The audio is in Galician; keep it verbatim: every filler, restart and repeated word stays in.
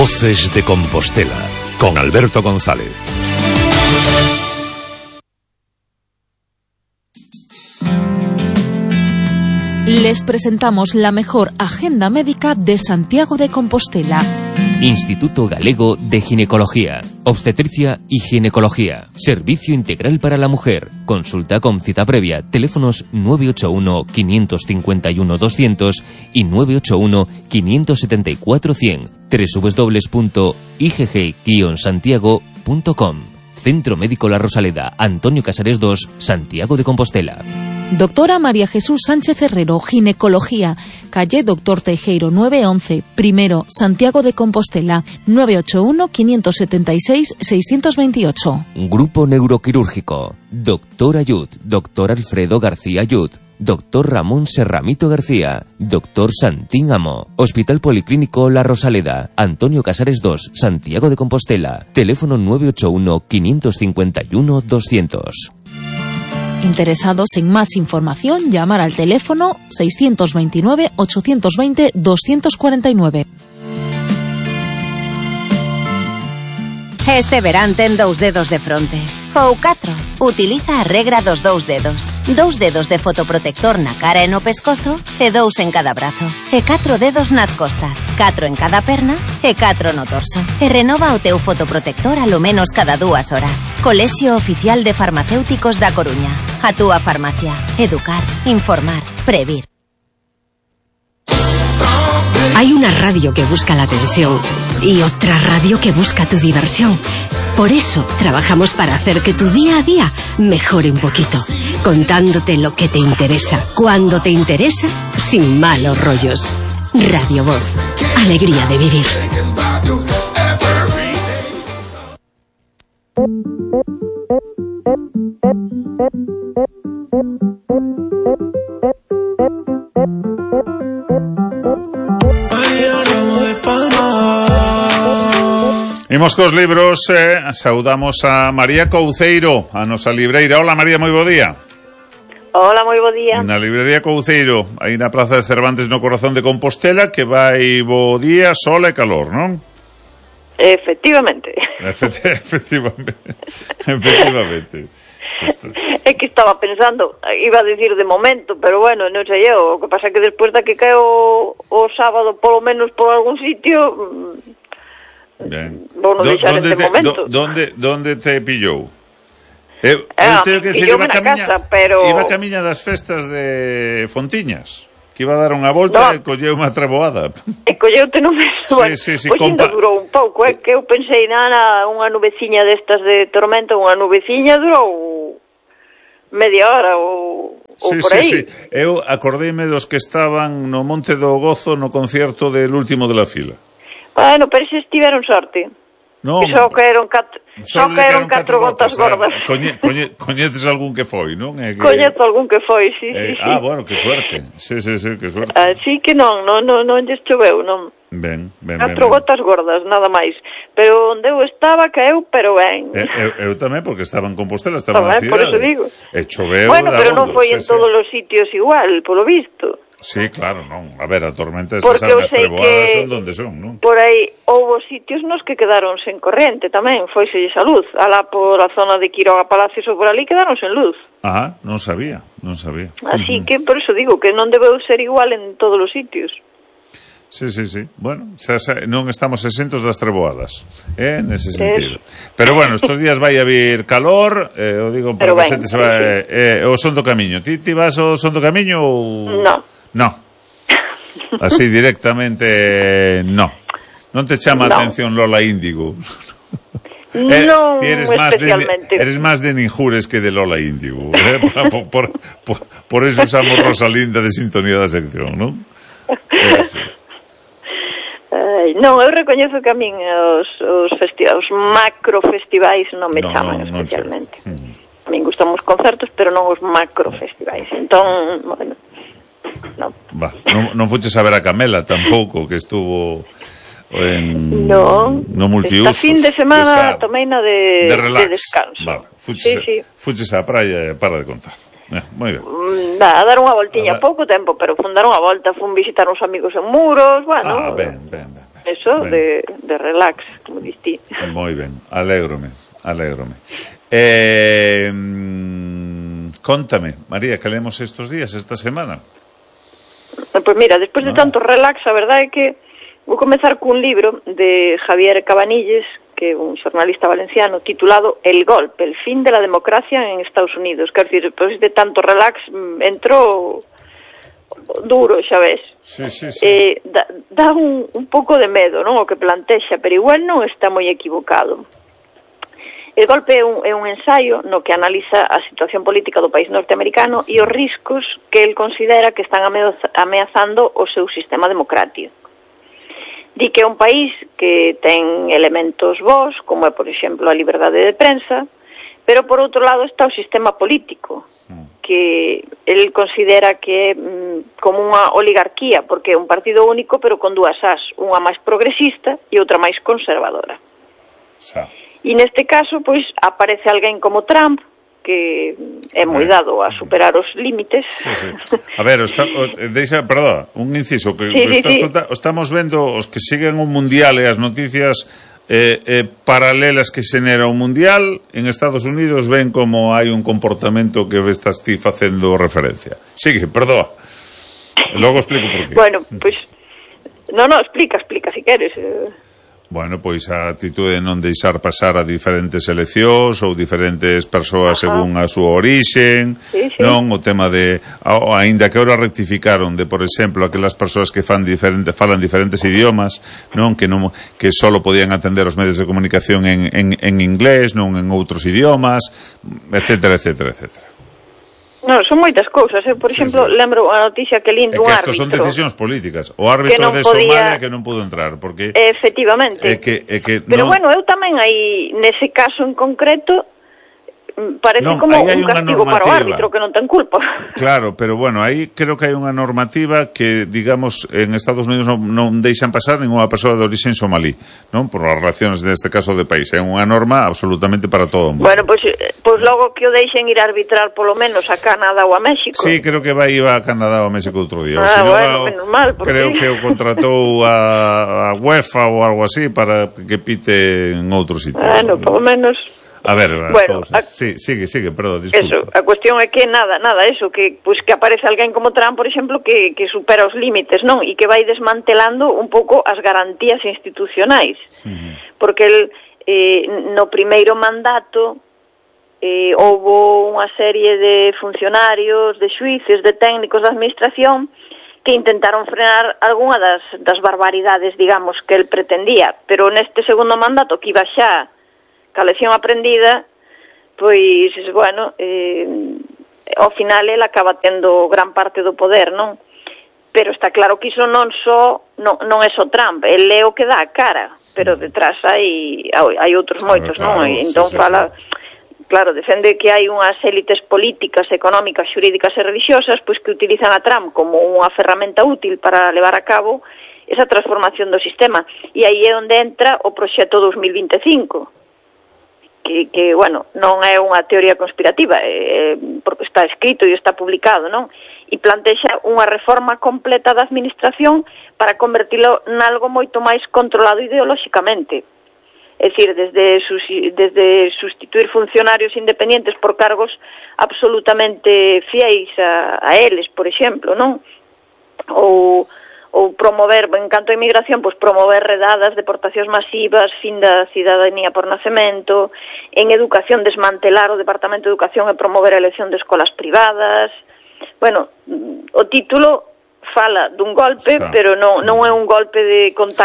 Voces de Compostela, con Alberto González. Les presentamos la mejor agenda médica de Santiago de Compostela. Instituto Galego de Ginecología, Obstetricia y Ginecología. Servicio integral para la mujer. Consulta con cita previa. Teléfonos nueve ocho uno, cinco cinco uno, doscientos y nueve ocho uno, cinco siete cuatro, cien. doble u doble u doble u punto i g g guion santiago punto com. Centro Médico La Rosaleda, Antonio Casares dos, Santiago de Compostela. Doctora María Jesús Sánchez Herrero, Ginecología, calle Doctor Teijeiro nueve once, primero, Santiago de Compostela, nueve ocho uno, cinco siete seis, seis dos ocho. Grupo Neuroquirúrgico, Doctor Ayud, Doctor Alfredo García Ayud, Doctor Ramón Serramito García, Doctor Santín Amo, Hospital Policlínico La Rosaleda, Antonio Casares dos, Santiago de Compostela, teléfono nueve ocho uno, cinco cinco uno, doscientos. Interesados en más información, llamar al teléfono seiscientos veintinueve, ochocientos veinte, doscientos cuarenta y nueve. Este verán ten dous dedos de fronte. Ou catro. Utiliza a regra dos dous dedos. Dous dedos de fotoprotector na cara e no pescozo e dous en cada brazo. E catro dedos nas costas. Catro en cada perna e catro no torso. E renova o teu fotoprotector alo menos cada dúas horas. Colexio Oficial de Farmacéuticos da Coruña. A túa farmacia. Educar, informar, previr. Hay una radio que busca la atención y otra radio que busca tu diversión. Por eso trabajamos para hacer que tu día a día mejore un poquito, contándote lo que te interesa, cuando te interesa, sin malos rollos. Radio Voz, alegría de vivir. Imos cos libros, eh, saudamos a María Couceiro, a nosa libreira. Hola María, moi bo día. Hola, moi bo día. Na librería Couceiro, aí na Praza de Cervantes no corazón de Compostela, que vai bo día, sol e calor, non? Efectivamente. Efect- efectivamente. Efectivamente. É que estaba pensando, iba a decir de momento, pero bueno, non sei eu, o que pasa é que despois da que caeu o sábado, polo menos por algún sitio... Ben. Vou non deixar este te, momento. Do, donde, donde te pillou? Eu, ah, eu teño que decir, iba camiña, casa, pero... iba camiña das festas de Fontiñas, que iba a dar unha volta no. E colleu unha treboada. E colleute no mesmo. Sí, bueno, sí, sí, pois compa... ainda durou un pouco, é que eu pensei nada, unha nubeciña destas de tormenta, unha nubeciña durou media hora ou, ou sí, por aí. Sí, sí, eu acordeime dos que estaban no Monte do Gozo no concierto del último de la fila. Bueno, pero se estiveron sorte. No, que só caeron catro, só caeron catro gotas gordas. Coñe, coñe, coñeces algún que foi, non? É que... Coñezo algún que foi, sí, eh, sí, sí. Ah, bueno, que suerte. Sí, sí, sí, que suerte. Así que non, non, non, non lles choveu, non. Ben, ben, Catro ben, gotas gordas, nada máis. Pero onde eu estaba caeu, pero ben. Eh, eu, eu tamén, porque estaba en Compostela, estaba na cidade. Por eso digo. E choveu. Bueno, pero non foi sí, en sí. todos os sitios igual, polo visto. Sí, claro, non. A ver, a tormenta esas Porque eu as sei treboadas que son donde son, non? Por aí houve sitios nos que quedaron sen corrente tamén, foiselles a luz. Alá por a zona de Quiroga Palacios ou por ali quedaron sen luz. Ajá, non sabía, non sabía. Así Uh-huh. que por eso digo que non debeu ser igual en todos os sitios. Sí, sí, sí. Bueno, xa, xa, non estamos exentos das treboadas, eh, nese sentido. Pero bueno, estos días vai a vir calor, eh, o digo para que a xente se vai, eh, o son do camiño. Ti, ti vas o son do camiño ou... No. No. Así directamente, no. Non te chama a no. atención Lola Índigo? Eh, non eres más especialmente. De, eres más de Ninjures que de Lola Índigo. Eh? Por, por, por, por eso usamos Rosalinda de sintonía da sección, non? Ai, non, eu recoñezo que a min os, os, festi- os macrofestivais non me no, chaman no, especialmente. Non mm. A min gustan os concertos, pero non os macrofestivais. Entón, bueno, non. Va, non, non fuches a ver a Camela tampouco, que estuvo en no, no multiusos. Esta fin de semana tomei na de, de, relax. de descanso. Vale, fuches, sí, sí. fuches á praia e para de contar. Eh, moi ben. Mm, a dar unha voltiña, a pouco tempo, pero fun dar unha volta, fun visitar uns amigos en Muros, bueno. Ah, ben, ben, ben. ben. Eso, de, de relax, como diste. Moi ben, alégrome, alégrome. Eh, contame, María, que lemos estos días, esta semana? Pois mira, despois de tanto relax, a verdade é que vou comezar cun libro de Javier Cabanilles, que é un xornalista valenciano, titulado El golpe, el fin de la democracia en Estados Unidos. Quer dizer, despois de tanto relax, entrou duro, xa ves. Sí, sí, sí. Eh, dá, dá un, un pouco de medo, non, o que plantexa, pero igual non está moi equivocado. El golpe é un, é un ensaio no que analiza a situación política do país norteamericano e os riscos que el considera que están ameazando o seu sistema democrático. Di que é un país que ten elementos bons, como é, por exemplo, a liberdade de prensa, pero por outro lado está o sistema político, que el considera que é mm, como unha oligarquía, porque é un partido único, pero con dúas as, unha máis progresista e outra máis conservadora. Xa. E neste caso, pois, aparece alguén como Trump, que é moi dado a superar os límites. Sí, sí. A ver, está, o, deixa, perdón, un inciso, que sí, sí, estás sí. Conta, estamos vendo os que siguen o mundial e as noticias eh, eh, paralelas que xenera o mundial en Estados Unidos, ven como hai un comportamento que estás ti facendo referencia. Sigue, perdón. Logo explico por qué. Bueno, pois no, no, explica, explica si queres. Bueno, pois a atitude de non deixar pasar a diferentes eleccións ou diferentes persoas Ajá. según a súa orixen, sí, sí. non o tema de, aínda que ahora rectificaron de, por exemplo, aquelas persoas que fan diferente, falan diferentes idiomas, non que non que solo podían atender os medios de comunicación en, en, en inglés, non en outros idiomas, etcétera, etcétera, etcétera. Non, son moitas cousas, eh? Por exemplo, sí, sí. lembro a noticia que lindo un árbitro. É que son decisións políticas. O árbitro de podía... Somalia que non pudo entrar, porque... Efectivamente. É que, é que Pero non... bueno, eu tamén aí, nese caso en concreto, parece non, como un castigo para o árbitro que non ten culpa. Claro, pero bueno, aí creo que hai unha normativa que, digamos, en Estados Unidos non, non deixan pasar ninguna persoa de orixen somalí, non? Por as relacións neste caso de país. É unha norma absolutamente para todo o mundo. Bueno, pois pues, pues logo que o deixen ir a arbitrar polo menos a Canadá ou a México. Sí, creo que vai iba a Canadá ou a México outro día. Ah, bueno, menos mal. Creo que o contratou a, a UEFA ou algo así para que pite en outro sitio. Bueno, polo menos... A ver, bueno, a... sí, sigue, sigue, perdón, disculpa. Eso, a cuestión é que nada, nada, eso, que pues que aparece alguén como Trump, por exemplo, que, que supera os límites, non? E que vai desmantelando un pouco as garantías institucionais. Uh-huh. Porque el, eh, no primeiro mandato eh, houbo unha serie de funcionarios, de xuíces, de técnicos da administración que intentaron frenar algunha das, das barbaridades, digamos, que el pretendía. Pero neste segundo mandato, que iba xa ca lección aprendida, pois, bueno, eh, ao final ele acaba tendo gran parte do poder, non? Pero está claro que iso non só non, non é só Trump, ele é o que dá a cara, pero detrás hai hai outros moitos, claro, non? E entón sí, fala, sí. Claro, defende que hai unhas élites políticas, económicas, xurídicas e religiosas, pois que utilizan a Trump como unha ferramenta útil para levar a cabo esa transformación do sistema. E aí é onde entra o proxecto dos mil vinte e cinco. Que, que, bueno, non é unha teoría conspirativa, é, porque está escrito e está publicado, non? E plantexa unha reforma completa da administración para convertilo nalgo moito máis controlado ideolóxicamente. É dicir, desde, desde sustituir funcionarios independientes por cargos absolutamente fiéis a, a eles, por exemplo, non? Ou... ou promover, en canto a inmigración, pois promover redadas, deportacións masivas, fin da cidadanía por nacemento, en educación desmantelar o Departamento de Educación e promover a elección de escolas privadas. Bueno, o título fala dun golpe, xa, pero non, non é un golpe de con tan